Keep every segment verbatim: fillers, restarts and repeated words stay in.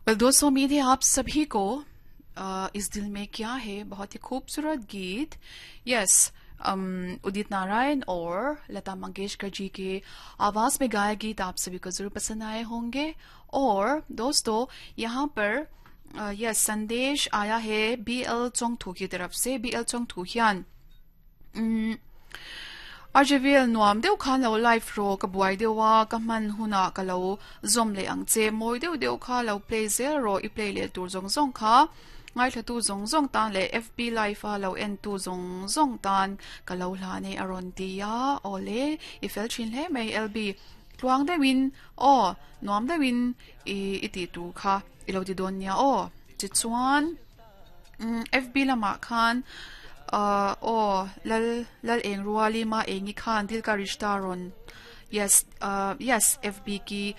Well दोस्तों, उम्मीद है आप सभी को अ, इस दिल में क्या है, बहुत ही खूबसूरत गीत, यस, उदित नारायण और लता मंगेशकर जी के आवाज में गाया गीत आप सभी को जरूर पसंद आए होंगे। और दोस्तों, यहाँ पर यस, संदेश आया है बी एल चोंगथू की तरफ से। B L Chongthu hian R J V L, nuam deuh khan lo live ro, ka buai deuha, ka hman huna ka lo zawm leh ang che. Mawi deuh deuh kha lo play zel ro, i play leh tur zawng zawng kha ngaithla tu zawng zawng tan leh F B live a lo en tu zawng zawng tan ka lo hlan e, a rawn ti a. Awle, i fel thin hle mai, L B. Tluang deuhin aw, nuam deuhin i i tih tur kha i lo ti dawn nia aw. Tichuan F B lamah khan uh, aw, lal lal eng ruali ma engi khan Dil Ka Rishta rawn, yes, uh, yes, F B की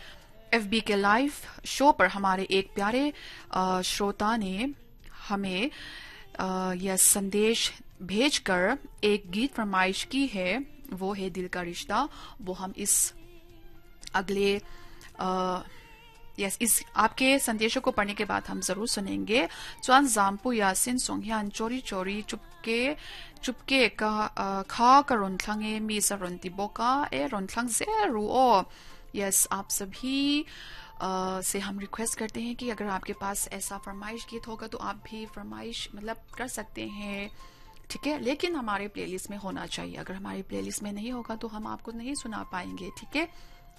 F B के live show पर हमारे एक प्यारे uh, श्रोता ने हमें यह संदेश भेजकर एक गीत फरमाइश की है, वो है दिल का रिश्ता। वो हम इस अगले, यस, इस आपके संदेशों को पढ़ने के बाद हम जरूर सुनेंगे। Chuan Zampuia Sin song hian Chori Chori Chupke Chupke ka kha ka rawn thlang e, mi sa rawn ti bawk a. E, rawn thlang zel ru aw. Yes, आप सभी uh, से हम रिक्वेस्ट करते हैं कि अगर आपके पास ऐसा फरमाइश गीत होगा तो आप भी फरमाइश मतलब कर सकते हैं, ठीक है? लेकिन हमारे प्लेलिस्ट में होना चाहिए। अगर हमारे प्लेलिस्ट में नहीं होगा तो हम आपको नहीं सुना पाएंगे, ठीक है?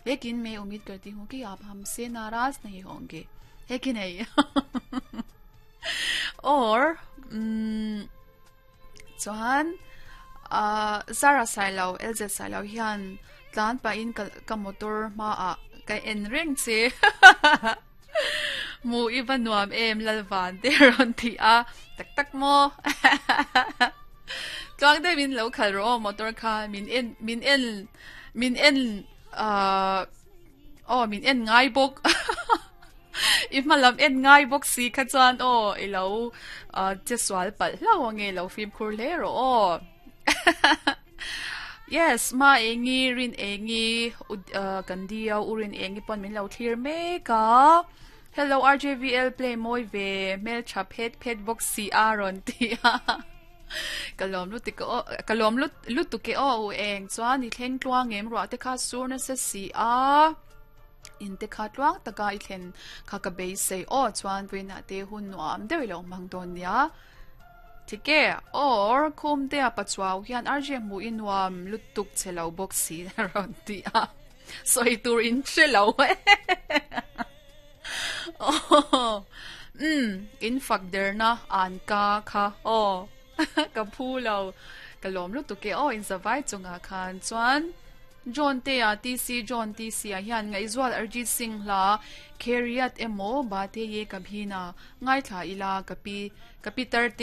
लेकिन मैं उम्मीद करती हूँ कि आप हमसे नाराज नहीं होंगे, है कि नहीं? और chuan Zara Sailo, L Z Sailo hian tlan pa in ka motor ma a ka en reng che, mu i va nuam em, lalvan te, rawn ti a. Tak tak mo? Tluang deuh in lo khal ro motor kha. Min en min en min en uh oh, min en ngai bawk, i hmalam en ngai bawk si kha chuan aw, i lo che sual palh hlau ange, lo fim khur hle ro aw. Yes, ma engi rin engi kan dia urin engi pon min lo thlir mek a. "Hello R J V L, play moi ve, mel tha phet phet bawk si," a rawn ti a. Kalom lu ti ko, kalom lu lu tu ke o eng. Chuan i thleng tluang em? Ruah te kha sur na se si a, in te kha tluang taka i thlen kha ka bei sei o. Chuan puina te hun nuam deuh lo mang don nia, thike? Or khum te a pachuaw hian R J mu in nuam lutuk, chelo bawk si, rawn ti a. Soi tur in hrelo. Oh, um in fak der na an ka kha o ka phu lo, ka lom lu tu ke o in zawai chunga khan. Chuan John te a T C, John T C a hian Ngaihzual Arijit Singh hla Khairiyat emo Baate Ye Kabhi Na ngai thla ila, kapi kapi tar te.